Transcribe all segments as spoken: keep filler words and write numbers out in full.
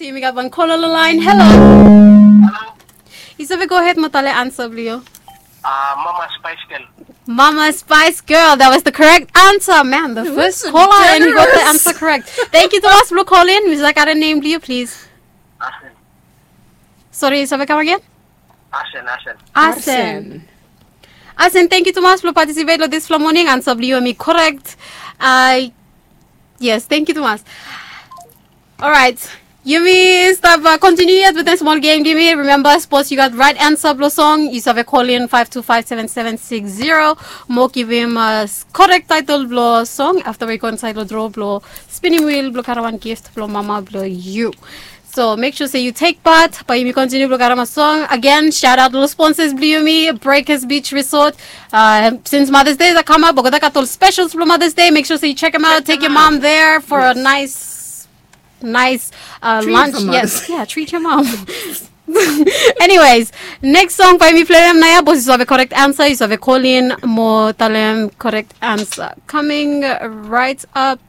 Yumi gat wan kola lo laen. Halo. Yu save gohed mo talem ansa blong yu. Mama Spice Girl. Mama Spice Girl, that was the correct answer. Man, the first caller, and he got the answer correct. Thank you tumas blong kolin. Mi save gat nem blong yu, please? Asen. Sorry, yu save kam agen? Asen, Asen. Asen. Asen, thank you tumas blong participate lo disfala moning. Ansa blong yu hemi correct. Yes, thank you tumas. Alright. Yumi stap kontiniu yet wetem smol gem blong yumi. Remember, sapos yu gat right ansa blong song, yu save kolin five two five seven seven six zero mo givim korek taetol blong song afta we yu go insaed long draw blong spinim wil blong karem wan gift blong mama blong yu. So mek sua se yu tek pat bae yumi kontiniu blong karem wan song. Agen, shout out long sponsors blong yumi, Breakers Beach Resort. Since Mother's Day i kamap, olgeta gat ol specials blong Mother's Day. Mek sua se yu check them out, take your mom there for a nice nice lunch. Yes, yeah, treat your mom. Anyways, next song bae mi plem naoia. Sapos yu save correct answer, yu save kolin mo talem correct answer. Coming right up.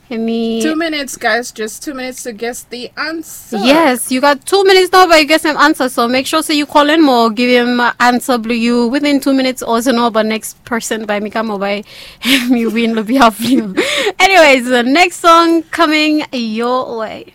Hemi two minutes, guys. Just two minutes to guess the answer. Yes, yu gat two minutes nao bae yu gesem ansa. So mek sua se yu kolin mo givim ansa blong yu within two minutes, o se no bae next person bae mi kam o bae mi win lo behalf blong yu. Anyways, the next song coming your way.